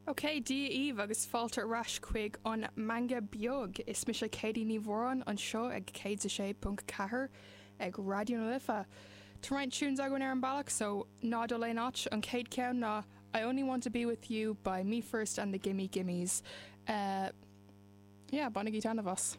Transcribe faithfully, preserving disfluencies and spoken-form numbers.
Ok, Dia daoibh agus fáilte ar ais chuig an Meangadh Beag is mise Katie Ní Mhóráin anseo ag céad a sé ponc ceathair ag Raidió na Life. Tá roinnt tunes againn ar an bealach so ná dul aon áit an chéad cheann ná I Only Want to Be With You by Me First and the Gimme Gimmes. Uh, yeah, bainigí taitneamh as.